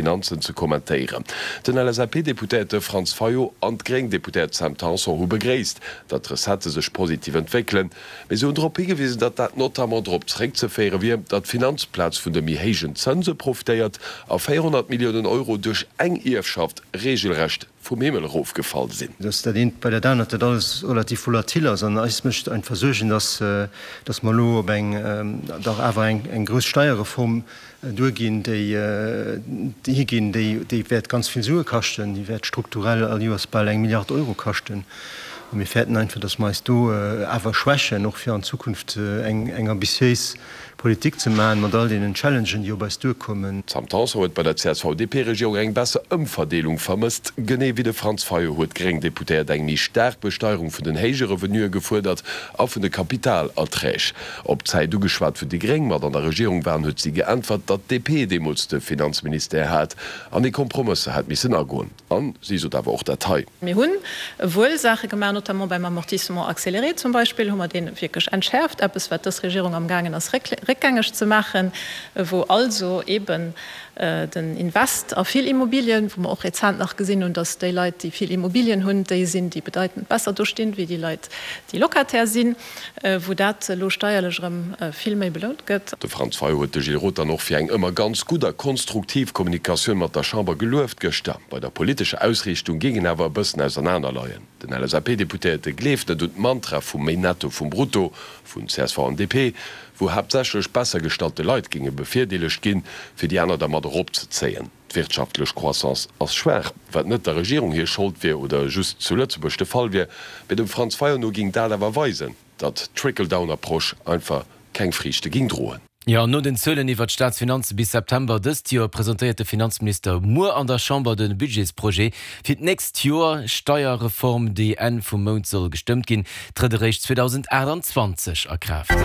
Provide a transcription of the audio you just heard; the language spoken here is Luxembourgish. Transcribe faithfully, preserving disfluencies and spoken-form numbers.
Finanzen ze kommentéieren. Den L S A P-Deputéierte Franz Fayot an d'gréng Deputéiert Sam Tanson hu begréisst, datt d'Recettë sech positiv entwéckelen, mee se hunn drop higewisen, datt dat notamment drop zeréckzeféiere wier, datt d'Finanzplaz vun de méi héijen Zënse profitéiert a véierhonnert Milliounen Euro duerch eng Ierfschaft reegelrecht vum Himmel erofgefall sinn. Dass dat eent bei dat anert, dat alles relativ volatil ass an eis mécht einfach Suergen, dass dass mer elo op eng dach awer eng eng grouss Steierreform duerginn, déi déi higinn, déi déi wäert ganz vill Sue kaschten, déi wäert strukturell all Joers bal eng Milliard Euro kaschten. A mir fäerten einfach, dass mer eis do awer schwächen, och fir an Zukunft eng eng ambitiéis Politik ze maachen, mat all deenen Challengen, déi op eis duerkommen. D'Sam Tanson huet bei der C S V-D P-Regierung eng besser Ëmverdeelung vermësst. Genee wéi de Franz Fayot huet d'gréng Deputéiert eng méi staark Besteierung vun den héije Revenuë gefuerdert a vun de Kapitalerträg. Op d'Zäit ugeschwat, wou déi gréng mat an der Regierung waren, huet si geäntwert, datt d'D P deemools de Finanzministère hat an ee Kompromësser hätt missen agoen. An si sot awer och dat hei. Mir hunn wuel Saache gemaach, notamment beim Amortissement accéléré zum Beispill hu mer dee wierklech entschäerft, eppes wat dës Regierung amgaangen ass réckgängeg ze maachen, wou also eeben den Invest a vill Immobilien, wou mer och rezent nach gesinn hunn, datt déi Leit, déi vill Immobilien hunn, déi sinn, déi bedeitend besser dostinn, wéi déi Leit, déi Locataire sinn, wou dat elo steierlech erëm vill méi belount gëtt. De Franz Fayot huet de Gilles Roth dann och fir eng ëmmer ganz gutt a konstruktiv Kommunikatioun mat der Chamber gelueft gëschter. Bei der politescher Ausriichtung géing een awer e bëssen ausernaner leien. Den L S A P-Deputéierte gleeft net un d'Mantra vum méi Netto vum Brutto vun C S V an D P, wou haaptsächlech besser gestallte Leit géinge bevirdeelegt ginn, fir déi aner da mat eropzezéien. D'wirtschaftlech Croissance ass schwaach, wat net der Regierung hir Schold wier oder just zu Lëtzebuerg de Fall wier, mee dem Franz Fayot no géing dat awer weisen, datt d'Trickle-down-Approche einfach keng Friichte géing droen. Jo, no den Zuelen iwwer d'Staatsfinanze bis September dëst Joer presentéiert de Finanzminister muer an der Chamber de Budgetsprojet fir d'nächst Joer. D'Steierreform, déi Enn vum Mount soll gestëmmt ginn, trëtt eréischt zweedausendaachtanzwanzeg a Kraaft.